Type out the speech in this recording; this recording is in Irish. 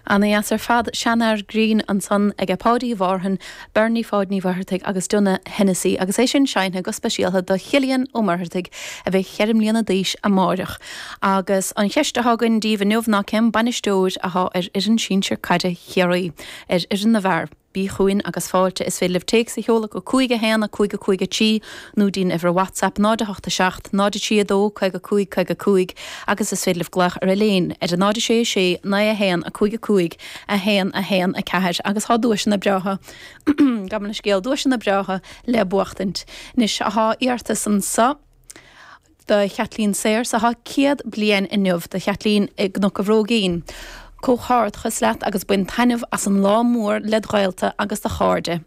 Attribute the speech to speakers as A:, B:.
A: Ana-dheas ar fad. Seanfhear Grinn ansan aige Páidí Mhárthain, Bernie Pháid Ní Mhuircheartaigh agus Donagh Hennessy agus é sin seinnte go speisialtha do Chillian Ó Muircheartaigh a bheidh cheithre mbliana d'aois amáireach. Agus an cheist atá againn daoibh inniu ná cén bainisteoir athá ar fhoireann sinsir caide Chiarraí, ar fhoireann na bhfear? Bí chugainn agus fáilte. Is féidir libh téacs a sheoladh go 5 1 5 5 3 nó dtí'n uimhir WhatsApp 0 8 7 0 3 2 55 55 agus is féidir libh glaoch ar Elaine ar 0 6 6 9 1 5 5 1 1 4 agus thá duaiseanna breátha gabh mo leithscéal duaiseanna breátha le buachtaint. Anois thá iarratas anso. Do Chaitlín Sayers athá 100 bliain inniu, do Chaitlín i gCnoc a' Bhróigín. Comhghairdeachas leat agus bain taitneamh as an lá mór led ghaolta agus do chairde.